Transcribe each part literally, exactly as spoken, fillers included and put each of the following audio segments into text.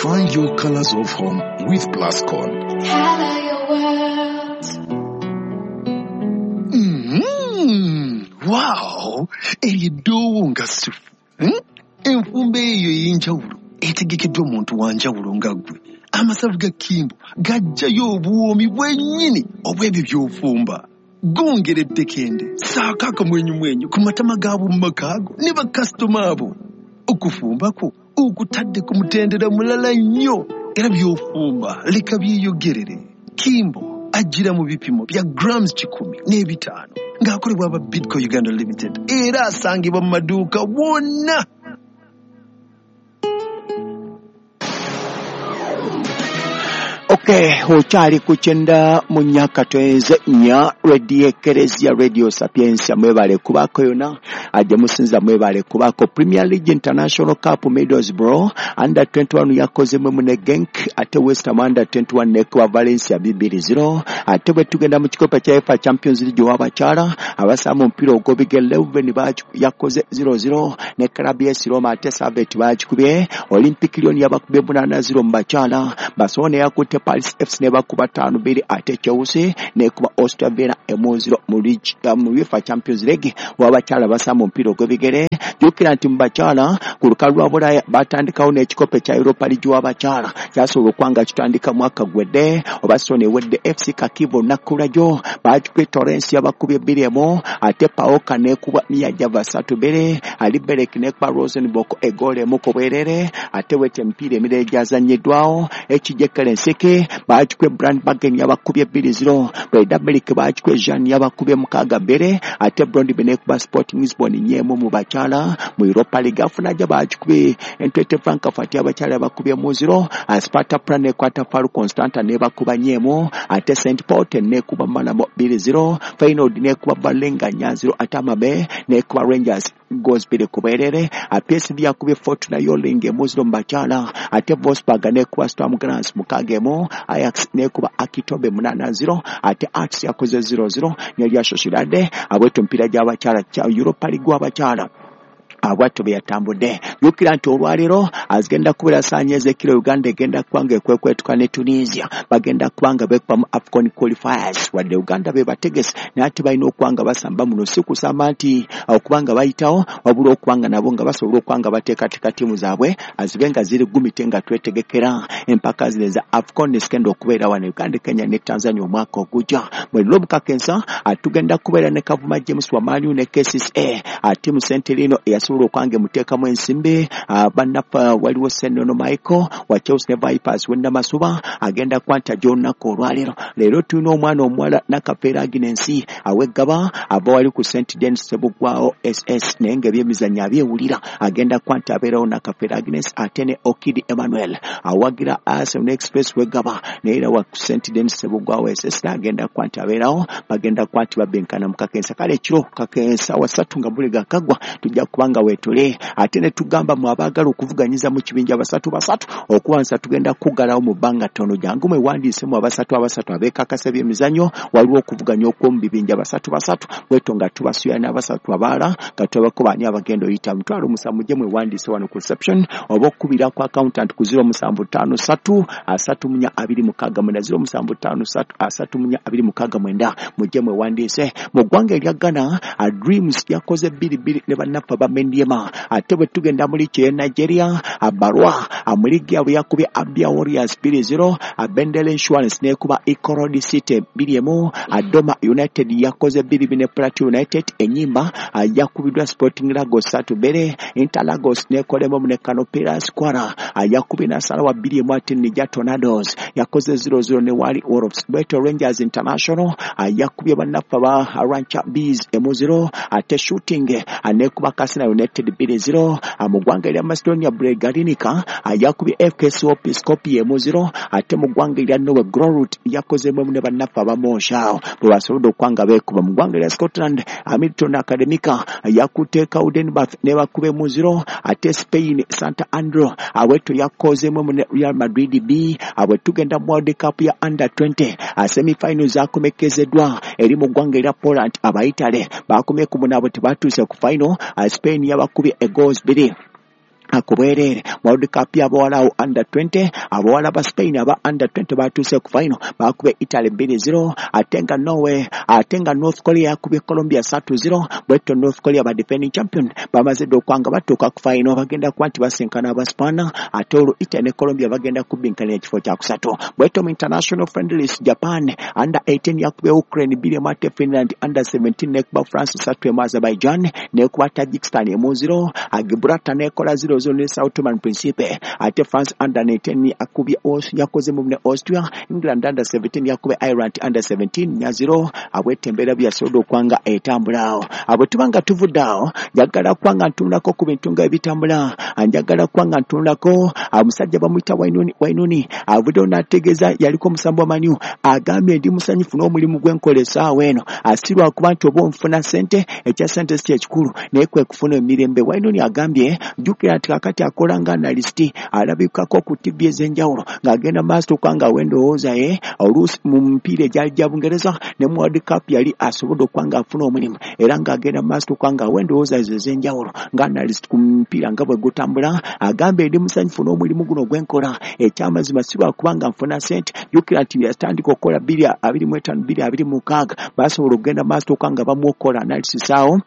Find your colors of home with Plascon. Color your world. Mm, wow! Eryo eddoowo nga ssufu. Hmm? Enfumba eyo ey'enjawulo etegekeddwa omuntu wa njawulo nga ggwe. Amasavu ga Kimbo gajjayo obuwoomi bwennyini obw'ebyo by'ofumba. Gongera ettekende, ssaako akamwenyumwenyu ku matama g'ab'omu maka go ne bakasitoma abo. Okufumba kwo okutadde ku mutendera mulala nnyo era by'ofumba leka byeyogerere. Kimbo ajjira mu bipimo bya grams kikumi n'ebitaano ng'akolebwa aba Bidco Uganda Limited era asangibwa mu maduuka wonna. Okay, okyali ku kyenda mu myaka twenze nnya Radio Ekereziya Radio Sapientia mwebale kubaako yonna ajja musinza mwebale kubaako. Premier League International Cup Middlesbrough under twenty-one yakoze mwe ne Genk, ate West Ham under twenty-one nekuba Valencia bibiri zero. Ate bwe tugenda mu kikopo kya UEFA Champions League w'abakyala abasamba omupiira ogw'ebigere Leuven yakoze zero zero ne Club A S Roma, ate Servette baagikubye. Olympic Lyon yabakubye munaana zero mu bakyala. Barcelona yakutte Paris F C ne bakuba ttaano bbiri, ate Chelsea nekuba Austria Vienna emu zero mu UEFA Champions League w'abakyala basamba omupiira ogw'ebigere. Jjukira nti mu bakyala ku lukalu lwa Bulaaya batandikawo n'ekikopo kya Europa League w'abakyala kyasobola okuba nga kitandika mwaka gwedde oba soni ewedde. F C Kharkiv olunaku lwajjo baagikubye Torrens yabakubye bbiri emu, ate Paoka nekuba Miyajava ssatu bbiri, Liberec nekuba Rosenborg eggoolo emu ku bwerere. Ate wete emipiira emirala egyazannyiddwawo, H J Kelensiki baagikubye Brandbergen yabakubye bbiri zero, Breidablik baagikubye Jean yabakubye mukaaga bbiri, ate Brondby nekuba Sporting Lisbon nnya emu mu bakyala. Mu Europa League afunaja baagikubye Eintracht Frankfurt abakyala bakubye mu zero, Sparta Prague nekwata Faru Constanta nebakuba nnya emu, ate Saint Paul nekuba Malmo bbiri zero, Feyenoord nekuba Balenga nnya zero, ate Amabe nekuba Rangers goals bbiri ku bwerere. P S V yakubye Fortuna Yoling emu zero mu bakyala, ate Wolfsburg nekuba Sturm Graz mukaaga emu, Ajax nekuba Akitobe munaana zero, ate Arts yakoze zero zero ne Real Sociedad. Abwetu emipiira gy'abakyala kya Europa League w'abakyala abwatto bwe yatambudde. Jjukira nti olwaleero azigenda kubeera ssaawa ez'ekiro Uganda egenda kuba nga ekwekwetuka ne Tunisia, bagenda kuba nga beekuba mu AFCON qualifiers. Wadde Uganda be bategese naye ate balina okuba nga basamba muno, si kusamba nti okuba nga bayitawo, wabula okuba nga nabo nga basobola okuba nga bateekateeka ttiimu zaabwe azibe nga ziri gumite nga twetegekera empaka zino eza AFCON ezigenda okubeera wano Uganda, Kenya ne Tanzania omwaka ogujja. Mu Lubukakensa tugenda kubeera ne Kavuma James Wamaliu ne K C C A ttiimu Sentilino eyasobola okwange muteekamu ensimbi. Bannaffe waliwo Senono Michael wa Chelsea ne Vipers w'Ennamasuba agenda kwanta gy'olunaku olwaleero. Leero tulina omwana omuwala Nakafeero Agnes aw'eggaba ava wali ku Saint Denis Ssebuggwawo S S naye ng'ebyemizannyo abyewulira, agenda kwanta abeerawo Nakafeero Agnes. Ate ne Okidi Emmanuel awagira Arsenal Express w'eggaba naye era wa ku Saint Denis Ssebuggwawo S S agenda kwanta abeerawo, bagenda kwanti babenkana mu Kakensa. Kale ekiro Kakensa wasatu nga buliga kagwa tujja kubanga wetule, ate ne tugamba mu abaagala okuvuganyiza mu kibinja basatu basatu okuwansa tugenda kuggalawo mu bbanga ttono. Jangu mwewandiise mu abasatu abasatu abeekakasa ebyemizannyo, waliwo okuvuganya okw'omu bibinja basatu basatu bwetyo nga tubasuya n'abasatu abalala nga tulabako baani abagenda oyita. Mutwalo musanvu mujje mwewandiise wano ku reception oba okukubira ku accountant ku zero musanvu ttaano ssatu asatu munya abiri mukaaga mwenda zero musanvu ttaano ssatu asatu munya abiri mukaaga mwenda mujje mwewandiise. Mu ggwanga erya Ghana Dreams yakoze bbiri bbiri ne bannaffe aba Mendiema. Ate bwe tugenda mu liigi ey'e Nigeria, Abarwa mu liigi yaabwe yakubye Abia Warriors bbiri zero, Bendel Insurance n'ekuba Ikorodi City bbiri emu, Doma United yakoze bbiri bbiri ne Plateau United. Enyimba yakubiddwa Sporting Lagos ssatu bbiri, Inter Lagos n'ekolemu ne Kano Pillars. Kwara yakubye Nasarawa bbiri emu, ate Niger Tornadoes yakoze zero zero ne Wali Wolves. Bweto Rangers International yakubye bannaffe aba Rancher Bees emu zero, ate Shooting n'ekuba Katsina United bbiri zero. Mu ggwanga erya Macedonia Bregalinica yakubye F K Skopje emu zero, ate mu ggwanga erya Norway Grorud yakozeemu ne bannaffe aba Monshao bwe basobodde okuba nga beekuba. Mu ggwanga erya Scotland Hamilton Academica yakutte Cowdenbeath ne bakuba emu zero, ate Spain Santa Andrew abwetyo yakozeemu ne Real Madrid B. Abwe tugenda mu World Cup ya under twenty semi-final zakomekezeddwa eri mu ggwanga erya Poland, Abaitale bakomye ku munaabwe tebatuuse ku final. Spain yabakubye egoals bbiri Akubwerere World Cup y'abawala under twenty, abawala ba Spain aba under twenty batuuse ku final, bakubye Italy bbiri zero, ate nga Norway, ate nga North Korea yakubye Colombia ssatu zero. Bwetyo North Korea ba defending champion bamaze dda okwanga batuuka ku final, bagenda kuba nti basinkana Abaspaana, ate olwo Italy ne Colombia bagenda kubbinkana ekifo kya kusatu. Bwetyo mu international friendlies, Japan under eighteen yakubye Ukraine bbiri emu, ate Finland under seventeen nekuba France ssatu emu, Azerbaijan nekuba Tajikistan emu zero, Gibraltar nekola zero zero ne Sao Tome and Principe, ate France under nineteen akubye yakoze mu ne Austria, England under seventeen yakubye Ireland under seventeen nya zero. Abwete embeera byasobodde okwanga etambula awo. Abwe tubanga tuvudde awo, njagala kwanga ntunulako ku bintu nga ebitambula, njagala kwanga ntunulako omusajja bamuyita Wainuni. Wainuni avuddeyo n'ategeeza yaliko omusambi wa Man U, agambye ndi musanyufu n'omulimu gwe nkola essaawa eno, si lwakuba nti oba onfuna ssente, ekya ssente si kyekikulu, naye kwe kufuna emirembe. Wainuni agambye jjukira nti kakati akola nga analyst, alabikako ku T V ez'enjawulo ng'agenda maaso okwanga awa endowooza ye oluusi mu mipiira egyali gya Bungereza ne mu World Cup yali asobodde okwanga afuna omulimu, era ng'agenda maaso okwanga awa endowooza ezo ez'enjawulo nga analyst ku mupiira nga bwe gutambula. Agambye ndi musanyufu n'omulimu guno gwe nkola, ekyamazima si lwakuba nga nfuna ssente. Jjukira nti yatandika okukola bbiri abiri mu etaano bbiri abiri mu mukaaga, basobola okugenda maaso okwanga bamuwa analysis awo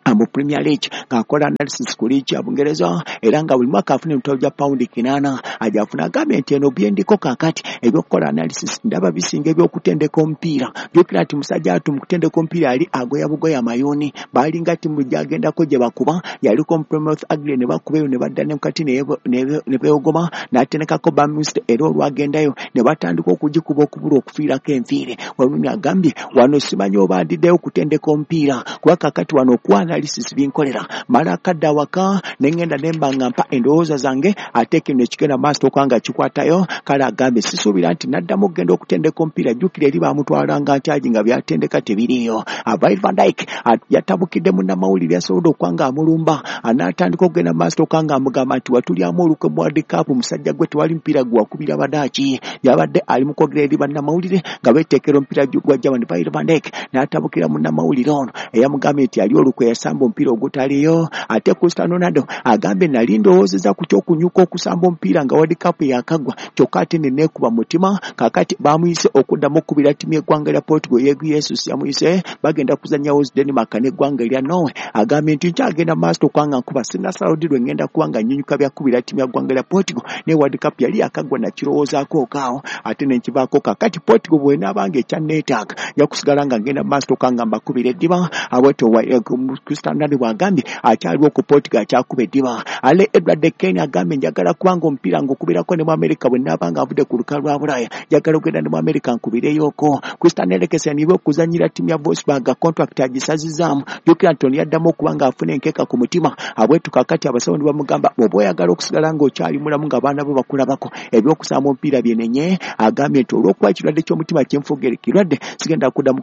mu Premier League, ng'akola analysis ku liigi ya Bungereza, era nga buli mwaka afuna emitwalo gya pawundi kinaana ajafuna. Agambye nti eno byendiko kaakati ebyokukola analysis ndaba bisinga ebyokutendeka omupiira. Jjukira nti musajja atu mu kutendeka omupiira yali agoya bugoya mayuuni, baalinga ttiimu gy'agendako gye bakuba, yaliko mu Plymouth Argyle ne bakuba eyo ne badda ne mukati ne beewogoma, n'atendekako Birmingham era olwagendayo ne batandika okugikuba okubula okufiirako enfiire. Wainuni agambye wano simanyi oba ndiddeyo okutendeka omupiira kuba kaakati wano okuwa analysis binkolera, mala akadde awaka ne ŋŋenda ne mba nga mpa endowooza zange, ate kino ekigenda maaso okwanga kikwatayo. Kale agambye sisuubira nti naddamu okugenda okutendeka omupiira, jjukira eri baamutwalanga nkyagi nga byatendeka tebiriiyo. Virgil van Dijk yatabukidde munnamawulire yasobodde okwanga amulumba, anaatandika okugenda maaso okwanga amugamba nti watulyamu olukwe mu World Cup, musajja gwe tewali mupiira gwe wakubira Badaaki. Yabadde ali mu kwogera eri bannamawulire nga beeteekera omupiira gwa Germany. Virgil van Dijk n'atabukira munnamawulire ono eyamugambye nti ali olukwe yasamba omupiira ogutaliyo. Ate Cristiano Ronaldo agambye nali ndowoozeza ku ky'okunyuka okusamba omupiira nga World Cup yakagwa, kyokka ate ne neekuba mutima. Kaakati bamuyise okuddamu okukubira ttiimu y'eggwanga lya Portugal, Jesus yamuyise, bagenda kuzannya Denmark n'eggwanga erya Norway. Agambye nti nkyagenda maaso okwanga nkuba sinnasalawo ddi lwe ŋŋenda kuba nga nnyunyuka byakubira ttiimu ya ggwanga lya Portugal, ne World Cup yali yakagwa nakirowoozaako okaawo ate ne nkivaako. Kaakati Portugal bw'enaabanga ekyanneetaaga nja kusigala nga ngenda maaso okwanga mbakubira eddiba. Abwetyo Cristiano Ronaldo bw'agambye akyaliwo ku Portugal akyakuba eddiba. Ale Edward Kane agambye njagala kubanga omupiira ngukubirako ne mu Amerika bwe naabanga avudde ku lukalu lwa Bulaaya, njagala okugenda ne mu Amerika nkubireyoko. Christian Eriksen iwe okuzannyira ttiimu ya Wolfsburg contract agisazizaamu. Jjukira nti ono yaddamu okuba ng'afuna enkeeka ku mutima. Abwetu kaakati abasawo ne bamugamba bw'oba oyagala okusigala ng'okyali mulamu ng'abaana bo bakulabako ebyokusamba omupiira byenenye. Agambye nti olw'okuba ekirwadde ky'omutima kyenfugere kirwadde, sigenda kuddamu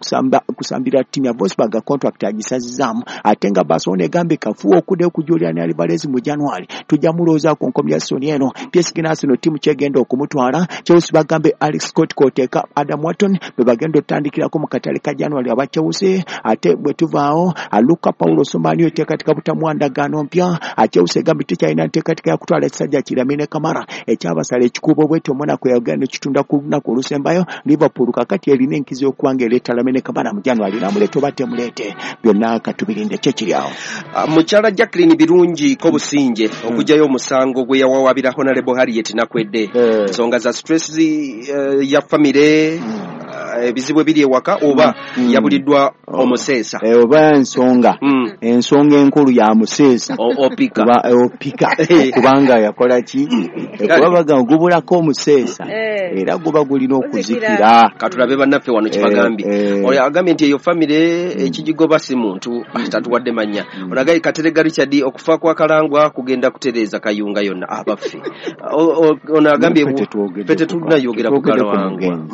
kusambira ttiimu ya Wolfsburg contract agisazizaamu. Ate nga Barcelona egambye kafuuwe okuddayo ku Julian Alvarez mu January, tujja mulowoozaako nkomya Soni eno. P S G Arsenal ttiimu kyegenda okumutwala. Chelsea bagambe Alex Scott k'oteeka Adam Wharton bwe bagenda otandikirako mu katale ka January aba Chelsea. Ate bwe tuvaawo Luka Paulo Somani eteekateeka butamuwa ndagaano mpya. Chelsea egambye tekyalina nteekateeka ya kutwala ekisajja ki Lamine Camara ekyabasala ekikuubo bwetyo Monaco yagenda ekitunda ku lunaku olusembayo. Liverpool kakati erina enkizo y'okuba ng'ereeta Lamine Camara mu January, namuleeta oba temuleete, byonna katubirinde kyekiri awo. Mukyala Jacqueline Birungi Kobusinje okugyayo omusango gwe yawawaabira Honorable Harriet Nakwedde, ensonga za stress ya famire, ebizibu ebiri ewaka oba yabuliddwa omuseesa oba ensonga ensonga enkulu ya museesa opika opika kubanga yakola ki kuba gubulako omuseesa era guba gulina okuzikira. Katulabe bannaffe wano kibagambye oyo agambye nti eyo famire ekigigoba si muntu tatuwadde mannya. Onagaye Katerega Richard okufa kwa Kalangwa kugenda kutereeza Kayunga yonna abaffe. Ono agambye ffe tetunnayogera ku Kalangwa.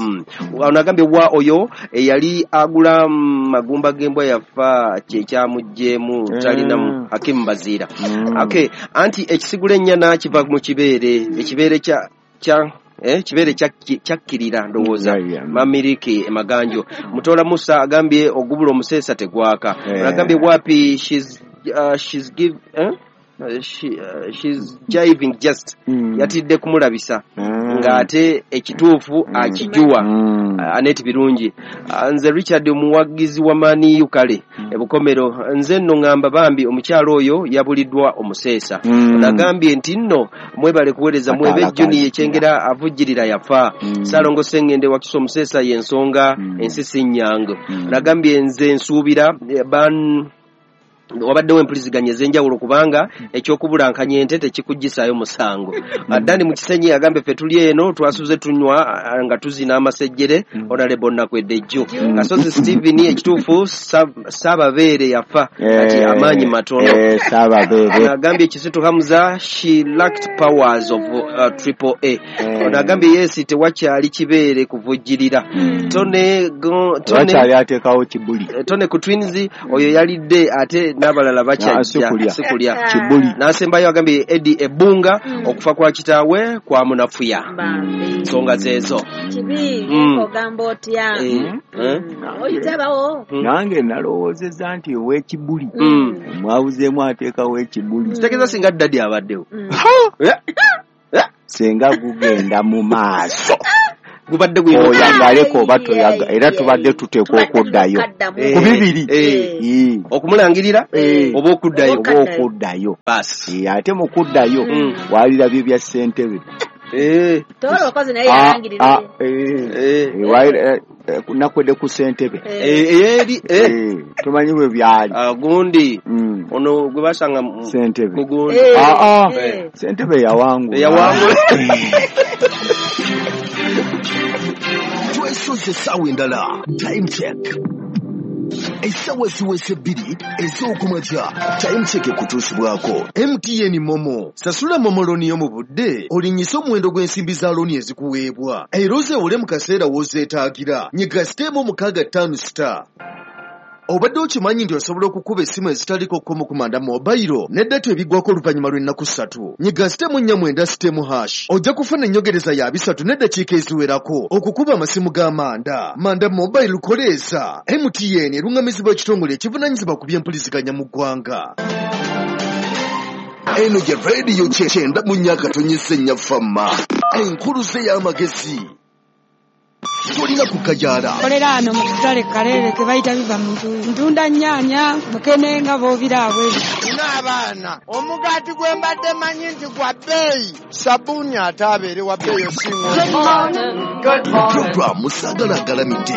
Ono agambye wa oyo eyali agula magumba g'embwa yafa kyekyamuggyemu talina Hakim Bazira. Okay, anti ekisigula ennyana kiva mu kibeere, ekibeere kya kya eh kibeere kyakkirira ndowooza Mamiriki Maganjo. Mutola Musa agambye ogubula omuseesa tegwaka. Agambye wapi she's uh, she's give eh? she, uh, she's jiving just Mm. yatidde kumulabisa Mm. ng'ate ekituufu akijuwa. Mm. Aneti Birungi, Ah, nze Richard omuwagizi wa Man U kale ebukomero, nze nno ŋŋamba bambi omukyalo oyo yabuliddwa omuseesa. Mm. Nagambye nti nno mwebale kuweereza mwebe. Ataala Juni kazikira. Ekyengera avujjirira yafa. Mm. Saalongo Sengende wakisa omuseesa y'ensonga Mm. ensi si nnyangu. Mm. Nagambye nze nsuubira eh, ban wabaddewo empuliziganya ez'enjawulo kubanga ekyokubulankanya ente tekikuggisaayo musango. Dani mu Kisenyi agambye ffe tuli eno twasuze tunywa ah, nga tuzina amasejjere. Honorable Nakwedde Jjo Kasozi Steven, ekituufu Sa- Saababeere yafa kati Eh, amaanyi matono. eh, Saababeere. Agambye Kisitu Hamza, she lacked powers of uh, triple A. Eh. Ono agambye yes, tewakyali kibeere kuvujjirira. Tone go- Tone Wakyali ateekawo kibuli. Tone ku Twins oyo yalidde ate n'abalala Ah, bakyajja sikulya. sikulya. Kibuli. N'asembayo agambye Edi Ebunga, okufa kwa kitaawe kwamunafuya. Bambi. Nsonga zeezo. Kibi. Mm. Ogamba otya? Eh, eh? Oyitabawo. Mm. Nange nalowoozezza nti ow'ekibuli Mm. mwabuzeemu ateekawo ekibuli. Kitegeeza singa ddadi abaddewo. Eh, eh, Senga gugenda mu maaso. Gubadde gulina Oyagaleko oba toyaga, era tubadde tuteekwa okuddayo Eh, ku bibiri. eh. Eh, okumulangirira Eh. oba okuddayo. Oba okuddayo. Baasi. Eh, ate mu kuddayo Mm. walirabye bya ssentebe. Eh, Tolokoze naye Ah, ah, yalangirire. eh, eh, eh, wali- eh, eh, nakwedde ku ssentebe. eh, eri eh. Eh, tomanyi bwe byali. Ah, gundi Mm, ono gwe basanga mu- ssentebe. ku gundi. Eh, Ah, ah, eh. ssentebe yawangula. Yawangula. Twesoze essaawa endala. Time check, essaawa ziweze bbiri ez'okumakya. Time check ekutuusibwako M T N MoMo. Sasula MoMo loan yo mu budde olinnyise omuwendo gw'ensimbi za loan ezikuweebwa era ozeewole mu kaseera w'ozeetaagira. Nyiga star emu mukaaga ttaano star. Obadde okimanyi nti osobola okukuba essimu ezitaliko kkomo ku Manda Mobile ne data ebiggwako oluvannyuma lw'ennaku ssatu? Nyiga star emu nnya mwenda star emu hash, ojja kufuna ennyongereza ya bisatu n'eddakiika eziwerako okukuba amasimu ga Manda. Manda Mobile, koleeza M T N. Eruŋŋamizibwa ekitongole ekivunaanyizibwa ku byempuliziganya mu ggwanga. Eno gye rediyo kyenda mu nnya katonyesa ennya fama enkuluze y'amagezi. Tolina kukajaala. Kolera ano mu katale Kaleere ke bayita Biva mu Ntuuyo. Ntunda nnyaanya, mukene nga bw'obiraba ebyo. Nina abaana, omugaati gwe mbadde manyi nti gwa bbeeyi, sabbuuni ate abeere wa bbeeyi osinga. Puroguramu Saagala Agalamidde.